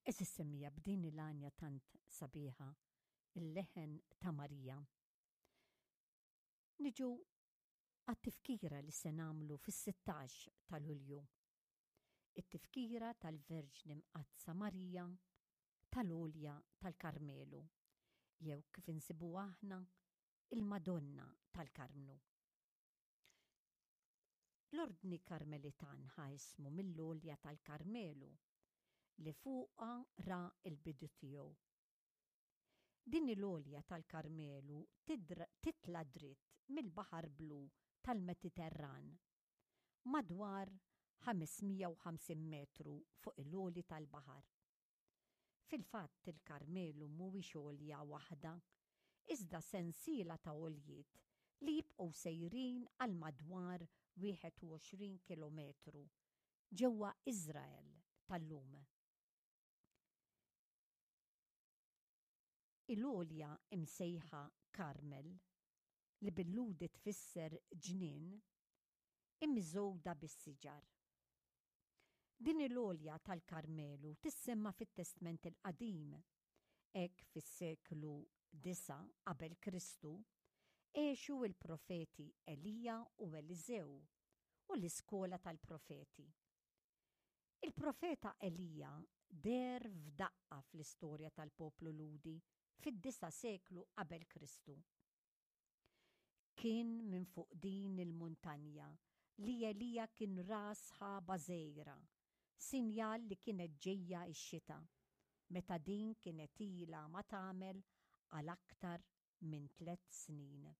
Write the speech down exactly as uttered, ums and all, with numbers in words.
Għeżież semmiegħa, b'din il-għanja tant sabiħa, il-leħen ta' Marija, niġu għat-tifkira li se nagħmlu fis-sittax ta' Lulju. It-tifkira tal-Verġni Mqaddsa Marija tal-Għolja tal-Karmelu, jew kif insibu aħna, il-Madonna tal-Karmnu. L-Ordni Karmelitan ħa ismu mill-Għolja tal-Karmelu li fuqha ra l-bidu tiegħu. Din il-Għolja tal-Karmelu titla' dritt mill-Baħar Blu tal-Mediterran, madwar ħames mija u ħamsin metru fuq il-għoli tal-baħar. Fil-fatt, il-Karmelu mhuwiex għolja waħda, iżda sensiela ta' għoljiet li jibqgħu sejrin għal madwar wieħed u għoxrin kilometru ġewwa Iżrael tal-lum. Il-għolja imsejħa Karmel, li bil-Lhudi tfisser ġnien, immiżgħuda bis-siġar. Din il-għolja tal-Karmelu tissemma fit-Testment il-Qadim, hekk fis-seklu disa' qabel Kristu għexu l-profeti Elija u Eliżew u l-iskola tal-profeti. Il-profeta Elija deher f'daqqa fl-istorja tal-poplu Lhudi fid-disa' seklu qabel Kristu. Kien minn fuq din il-muntanja li Elija kien ra sħaba żgħira, sinjal li kienet ġejja x-xita, meta din kienet ilha ma tagħmel għal aktar minn tliet snin.